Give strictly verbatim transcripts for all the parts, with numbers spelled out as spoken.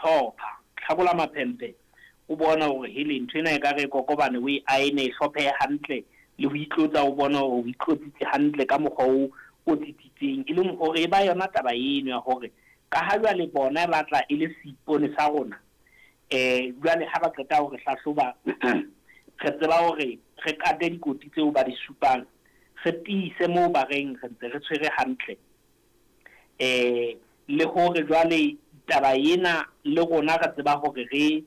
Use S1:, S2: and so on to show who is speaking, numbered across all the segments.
S1: itlhopha, tlhakola maphemphe, o bona hore hele ntho ena e ka re kokobane o e aene e hlophehe hantle, le ho itlotsa o bona hore o itlotsitse hantle ka mokgwa o o tsitsitseng. E leng hore e ba yona taba eno ya hore ka ha jwale bona ba tla e le seipone sa rona, eh jwale ha ba qeta hore hlahloba re tseba hore re kate dikoti tseo ba di supang, re tiise moo ba reng re ntse re tshwere hantle, eh le hore jwale taba ena le rona re tseba hore re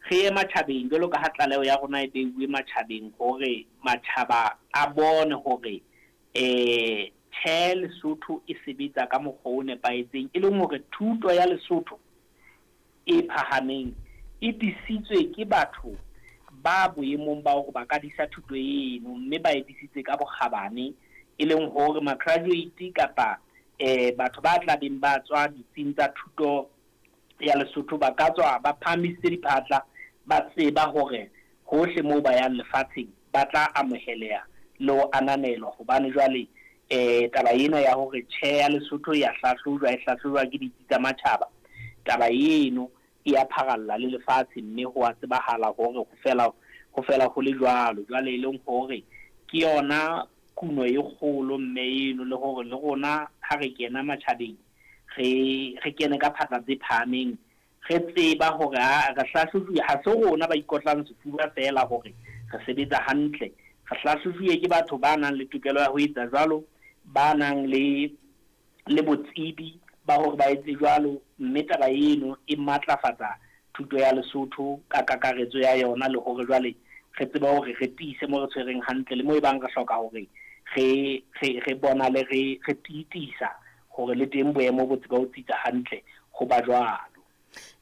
S1: re ye matjhabeng jwalo ka ha tlaleho ya rona e beuwe matjhabeng, hore matjhaba a bone hore eh tjhe Lesotho e sebetsa ka mokgwa o nepahetseng, e leng hore thuto ya Lesotho e phahameng e disitswe ke batho ba boemong ba hore ba ka disa thuto eno, mme ba e disitse ka bokgabane, e leng hore ma-graduate kapa eh batho ba tlabeng ba tswa ditsing tsa thuto ya Lesotho ba ka tswa ba phahamisitse diphatla, ba tseba hore hohle moo ba yang lefatsheng ba tla amoheleha le ho ananelwa. Hobane jwale eh taba ena ya hore tjhe ya Lesotho ya hlahlojwa, e hlahlojwa ke ditsi tsa matjhaba, taba eno e ya pharalla le lefatshe, mme ho a tsebahala hore ho fela ho fela ho le jwalo. Jwale e leng hore ke yona kuno e kgolo mme eno, le hore le rona ha re kena matjhabeng re re kene ka phatla tse phahameng, re tseba hore ha re hlahlojuwe, ha se rona ba ikotlang sefuba feela hore re sebetsa hantle, re hlahlojuwe ke batho ba nang le tokelo ya ho etsa jwalo, ba nang le le botsebi ba hore ba etse jwalo, mme taba eno e matlafatsa thuto ya Lesotho ka kakaretso ya yona, le hore jwale re tsebe hore re tiise mo re tshwereng hantle, le mo e bang re hloka hore re re re bonale re re tiitisa hore le teng boemo bo tseba ho tsitsa hantle ho ba jwalo.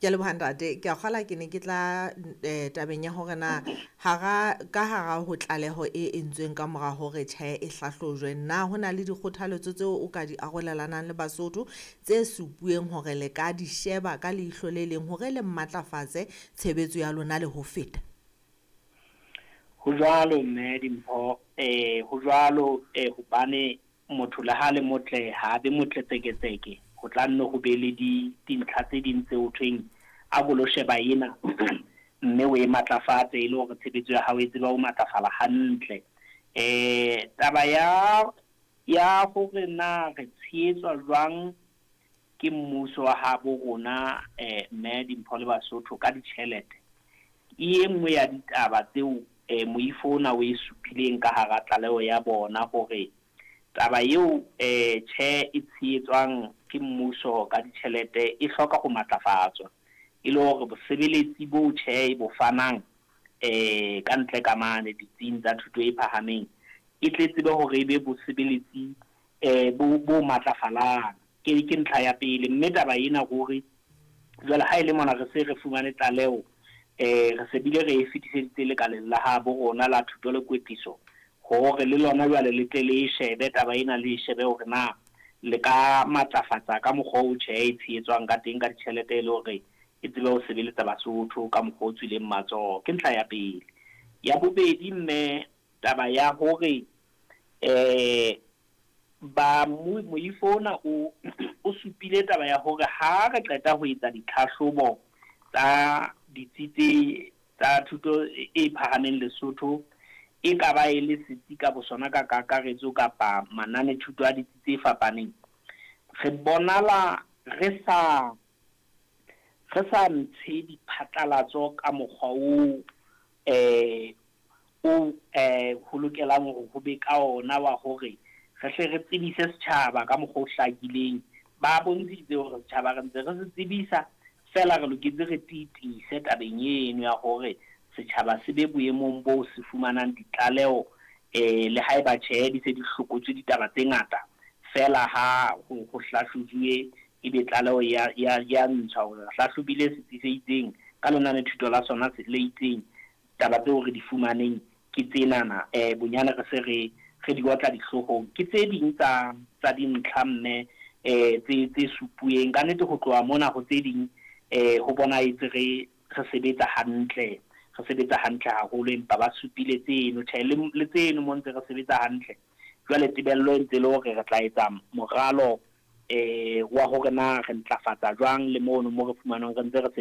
S2: Ke a leboha ntate. Ke a kgola ke ne ke tla eh, tabeng ya hore na hara ka hara ho tlaleho e entsweng ka mora hore tjhe e hlahlojwe, na ho na le dikgothaletso tseo o ka di arolelanang le Basotho tse supuweng hore le ka di sheba ka leihlo le leng hore le matlafatse tshebetso ya lona le ho feta?
S1: Ho jwalo mme Dimpho, eh ho jwalo, eh hobane motho le ha le motle ha be motle tseketseke, ho tla nne ho be le di dintlha tse ding tse ho thweng a ko lo sheba ena mme o e matlafatse e le hore tshebetso ya hao e tseba ho matlafala hantle. Eh taba ya ya hore na re tshehetswa jwang ke mmuso wa habo rona, eh mme Dimpho le Basotho ka ditjhelete, e nngwe ya ditaba tseo eh moifo ona o e supileng ka hara tlaleho ya bona, hore taba eo eh tjhe e tshehetswang ke mmuso ka ditjhelete e hloka ho matlafatswa, e le hore bosebeletsi bo tjhe e bo fanang eh ka ntle ka mane ditsing tsa thuto e phahameng e tle tsebe hore e be bosebeletsi eh bo bo matlafalang. Ke ke ntlha ya pele. Mme taba ena hore jwale ha e le mona re se re fumane tlaleho, eh re se bile re e fetiseditse lekaleng la habo rona la thuto le kwetliso, hore le lona jwale le tle le e shebe taba ena, le e shebe hore na le ka matlafatsa ka mokgwa o tjhe e tshehetswang ka teng ka ditjhelete, e le hore e tsebe ho sebeletsa Basotho ka mokgwa o tswileng matsoho. Ke ntlha ya pele. Ya bobedi mme, taba ya hore eh ba moifo ona o o supile taba ya hore ha re qeta ho etsa ditlhahlobo tsa ditsi tse tsa thuto e phahameng Lesotho, e ka ba e le setsi ka bosona ka kakaretso kapa manane thuto a ditsi tse fapaneng, re bonala re sa re sa ntshe diphatlalatso ka mokgwa o eh o eh ho lokelang hore ho be ka ona, wa hore re hle re tsebise setjhaba ka mokgwa o hlakileng. Ba bontshitse hore setjhaba re ntse re se tsebisa feela, re loketse re tiitise tabeng eno ya hore setjhaba se be boemong bo se fumanang ditlaleho, eh le haeba tjhe di se di hlokotswe ditaba tse ngata feela, ha ho ho hlahlojuwe ebe tlaleho ya ya ya ntshwa hore re hlahlobile setsi se itseng ka lenane thuto la sona se le itseng, taba tseo re di fumaneng ke tsenana, eh bonyane re se re re di otla dihloohong. Ke tse ding tsa tsa dintlha mme eh tse tse supueng ka nnete. Ho tloha mona ho tse ding eh ho bonahetse re re sebetsa hantle, re sebetsa hantle haholo, empa ba supile tseno tjhe le le tseno mo ntse re sebetsa hantle. Jwale tebello e ntse le hore re tla etsa moralo eh wa hore na re ntlafatsa jwang le mono mo re fumanang re ntse re